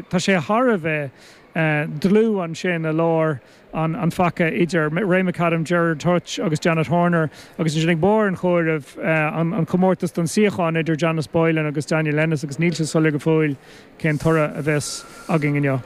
Tá sé thar a bheith dlúth ansin i lár an phaca idir Ray McAdam, Gerard Hutch agus Janet Horner agus ansin ag barr an chomhairimh an comórtas don suíochán idir Janice Boylan agus Daniel Ennis agus níl sé soiléir go fóill cén toradh a bheas againn inniu.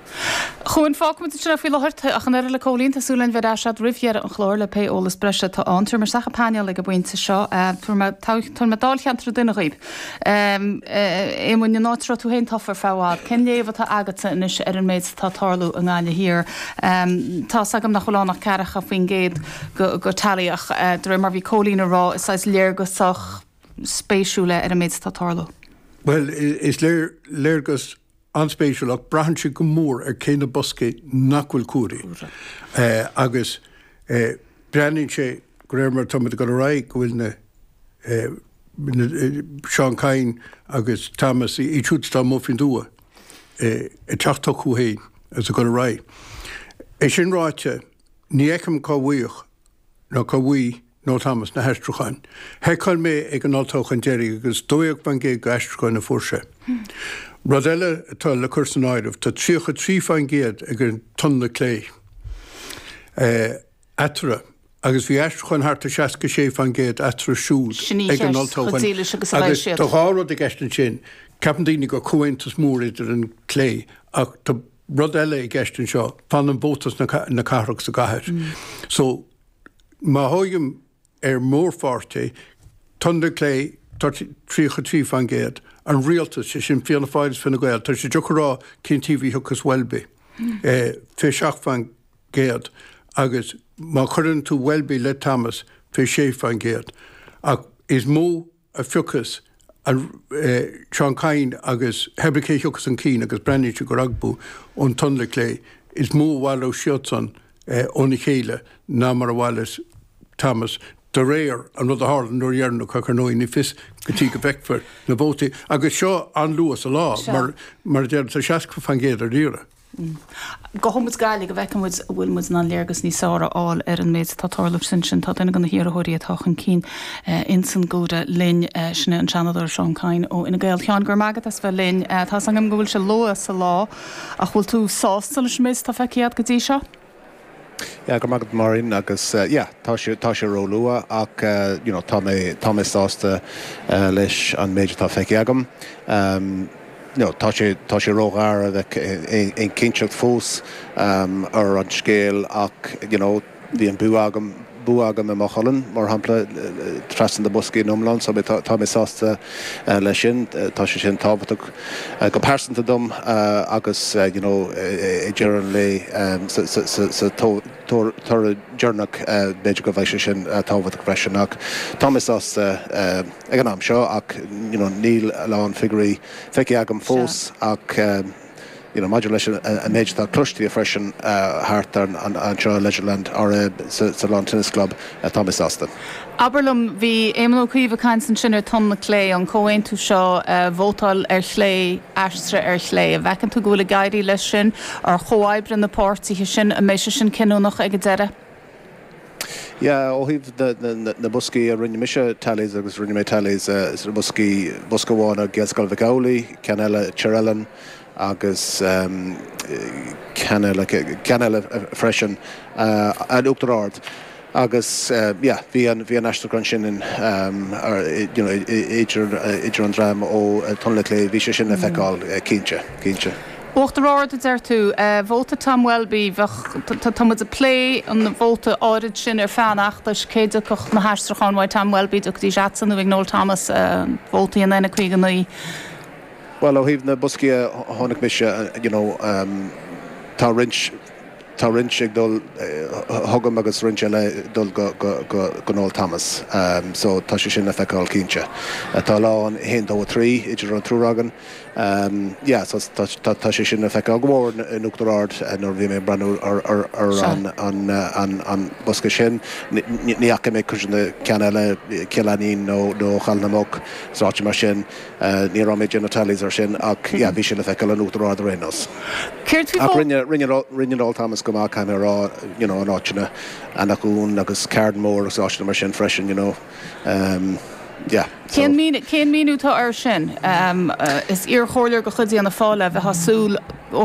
A Chuain, fágfaimid ansin é faoi láthair ach an oiread le Cóilín, tá súil againn bheith ar ais agat roimh dheireadh an chláir le pé eolas breise atá ann. Tabharfaidh mé isteach an painéal ag an bpointe seo. Tabharfaidh mé dáilcheantar ag duine dhíobh. Éamoinn, an áit a raibh tú féin tofa ar feadh i bhfad, cén léamh atá agatsa anois ar an méid atá ag tarlú i nGaillimh Thiar? Tá's agam nach bhfuil ann ach 40% go tally ach de réir mar bhí Cóilín ag rá, is saghas léargas sách spéisiúil é ar an méid atá ag tarlú. Bhuel, is léir, léargas an-spéisiúil ach braitheann sé go mór ar cé na boscaí nach bhfuil comhairithe. Agus breathnaíonn sé, de réir mar atá muid ag dul ar aghaidh, go bhfuil na, Seán Kyne agus Thomas, iad siúd atá amuigh faoin dtuath, ag teacht chucu féin agus ag dul ar aghaidh. É sin ráite, ní fheicim cá bhfaigheadh ná cá bhfaighidh Noel Thomas na haistriúcháin. Sheiceáil mé ag an olltoghchán deiridh agus 12% d'aistriúcháin a fuair sé. Rud eile atá le cur san áireamh, tá 33% ag an Tunnla Clé eatarthu agus bhí aistriúcháin thart ar 66% eatarthu siúd Sin í ag an cheist, chomh olltoghchán. dílis agus a bheidh Agus siad. tá dhá rud i gceist ansin. Ceapann daoine gur comhaontas mór idir an clé ach tá rud eile i gceist anseo, fanann vóta na cathrach sa gcathair. So, má thógaim ar mhórpháirtí, Tunnla Clé, tá 33%, an rialtas, sé sin Fianna Fáil is Fine Gael, tá sé deacair a rá cén taobh a thiocfas Welby, 27% agus má chuireann tú Welby le Thomas, 26%. Ach is mó a phiocfas Seán Kyne agus hé brí cé thiocfas chun cinn agus breathnaíonn sé gur acu ón Tunnla Clé is mó a bhaileoidh siadsan óna chéile ná mar a bhaileos Thomas de réir an rud a tharla an uair dheireanach ach ar ndóigh ní fios go dtí go bhfeicfear na vótaí agus seo an-luath sa lá mar mar a deir tá 60% ar iarraidh. Gabhfaidh muid Gaillimh go bhfeicfidh muid an bhfuil muid in ann léargas níos fearr a fháil ar an méid atá ag tarlú ansin. Tá duine de na hiarrthóirí atá chun cinn ins an gcomhaireamh linn, sin é an Seanadóir Seán Kyne ó Fhine Gael. Sheáin, go raibh maith agat as bheith linn. Tá's agam go bhfuil sé luath sa lá ach bhfuil tú sásta leis an méid atá feicthe agat go dtí seo? Yeah, go raibh maith agat Máirín agus yeah, tá sé, tá sé róluath ach you know tá mé, tá mé sásta leis an méid atá feicthe agam. No, tá sé, tá sé róghar a bheith aon chinnteacht fós ar an scéal ach you know bhí an bua agam, bua agam i Maigh Cuilinn, mar shampla, trasna na boscaí in iomlán so tá mé sásta leis sin. Tá sé sin tábhachtach go pearsanta dom agus you know ag deireadh an lae sa, sa, sa toradh deireanach b'fhéidir go bheidh sé sin tábhachtach freisin ach tá mé sásta ag an am seo ach you know níl a lán figiúirí feicthe agam fós ach you know maidir leis an méid atá cloiste freisin thart anseo i Leisureland or sa Lawn Tennis Club tá mé sásta. Abair liom, bhí Éamon Ó Cuív ag caint ansin ar Tunnla Clé, an comhaontú seo, vótáil ar chlé, aistrithe ar chlé. An bhfeiceann tú go bhfuil ag éirí leis sin? Ar chomhoibrigh na páirtithe sin? An mbeidh sé sin cinniúnach ag an deireadh? Yeah, ó thaobh na boscaí a rinne mise tallies agus rinne mé tallies sna boscaí, bosca amháin i Gaelscoil Mhic Amhlaigh, ceann eile i Tír Oileáin agus ceann eile, ceann eile freisin in Uachtar Ard. Agus yeah, bhí an, bhí an aistriúchán sin in, you know, idir, idir an dream ó Tunnla Clé, bhí sé sin le feiceáil cinnte, cinnte. Uachtar Ard a deir tú. Vóta Tom Welby, bheadh, tá muid ag plé an vóta áirid sin ar feadh an fheachtais, cé dtiocfadh na haistriúcháin uaidh Tom Welby, dtiocfaidís agatsa nó ag Noel Thomas, vótaí an N59. Bhuel, ó thaobh na boscaí a chonaic mise, you know, tá roinnt, Tá roinnt ag dul chugam agus roinnt eile ag dul go Noel Thomas. So tá sé sin le feiceáil cinnte. Tá a lán 1, 2, 3 idir an triúr againn. Yeah, so tá sé sin le feiceáil go mór in Uachtar Ard nuair a bhí mé ag breathnú ar an bosca sin. Ní fhaca mé cuid de na ceanna eile, Cill Ainnín nó Chaladh na Muc, is áiteanna mar sin. Ní raibh mé ag déanamh tallies ar sin ach yeah bhí sé le feiceáil in Uachtar Ard ar aon nós. Céard faoi Ach rinne, rinne, rinne Noel Thomas go maith caithfidh mé a rá, you know, in áiteanna Eanach Dhúin agus Carnmore agus áiteanna mar sin freisin, you know. Um, Yeah, so. Cén míniú atá air sin? Is iarchomhairleoir de chuid Fhianna Fáil é, bheifeá ag súil ó.